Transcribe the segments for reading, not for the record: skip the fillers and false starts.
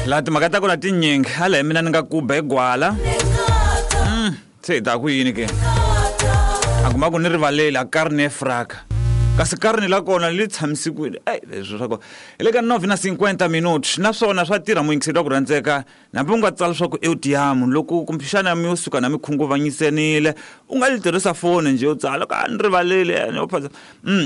Laha timhaka ta kona tinyingi hala hi mina ni nga kuba hi gwala. Se hi ta ku yini ke? A kuma ku ni rivaleli a karni efraka. Kasi karni la kona li tshamisikwile. Ey, leswi swa kona. Hi le ka 9 na 50 minutos naswona swa tirha muyingiseri wa ku rhandzeka hambi u nga tsala swa ku eu te amo loko kumbexana mi yo suka na mi khunguvanyisanile u nga yi tirhisa foni njhe u tsala ka ni rivaleli a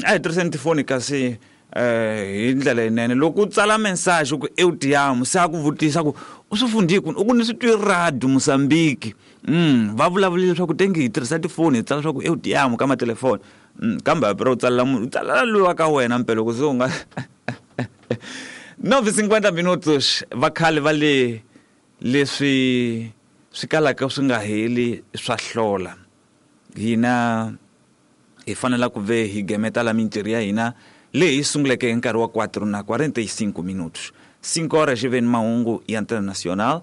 hi tirhiseni tifoni kasi hi ndlela yinene loko u tsala message ku eu te amo se a ku vutisa ku u swi fundhi kwini u ku ni swi twi radio Mozambique va vulavulile leswaku tenge hi tirhisa tifoni hi tsala swa ku eu te amo ka matelefoni kambe hambi ro tsalela munhu u tsalela loyi wa ka wena mpela loko se u nga 9:50 minutos va khale va le leswi swi kalaka swi nga heli swa hlola hina hi fanela ku ve hi gemeta la mintirho ya hina leyi hi sunguleke hi nkarhi wa 4 na 45 minutos 5 horas i ve ni mahungu ya international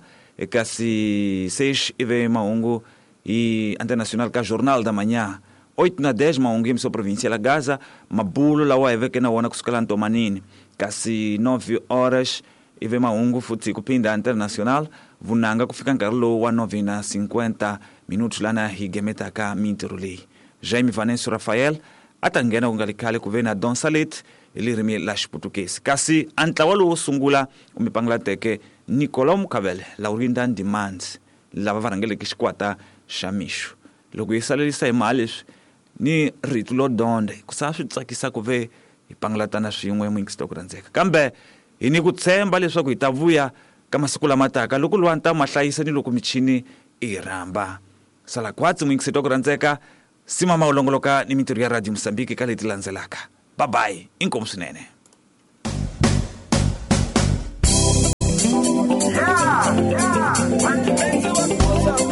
kasi 6 i ve mahungu hi international ka Jornal da Manhã 8 na 10 mahungu ya província la Gaza mabulo lawa hi veke na wona kusukela ntomanini kasi 9 horas i ve mahungu futhi ku phinda international vunanga ku fika nkarhi lowu wa 9 na 50 minutos lana hi gemetaka mintirho leyi Jaime Vanenso Rafael a ta nghena ku nga li khale ku ve na Don Salet hi lirimi la Xiputukezi kasi a ntlawa lowo sungula u mi pangalateke Nicolau Mukavele Laurinda Demands lava va rhangeleke xikwata xa mixo loko hi salelisa hi mhaka leswi ni rito lo donde ku sa swi tsakisa ku ve hi pangalatana swin'we muyingisito ku rhandzeka kambe hi ni ku tshemba leswaku hi ta vuya ka masiku lama taka loko luwa ta ma hlayisa ni loko michini i hi rhamba sala khwatsi muyingisito ku rhandzeka simama u longoloka ni mintirho ya radio Mozambique ka leti landzelaka babayi inkomu swinene.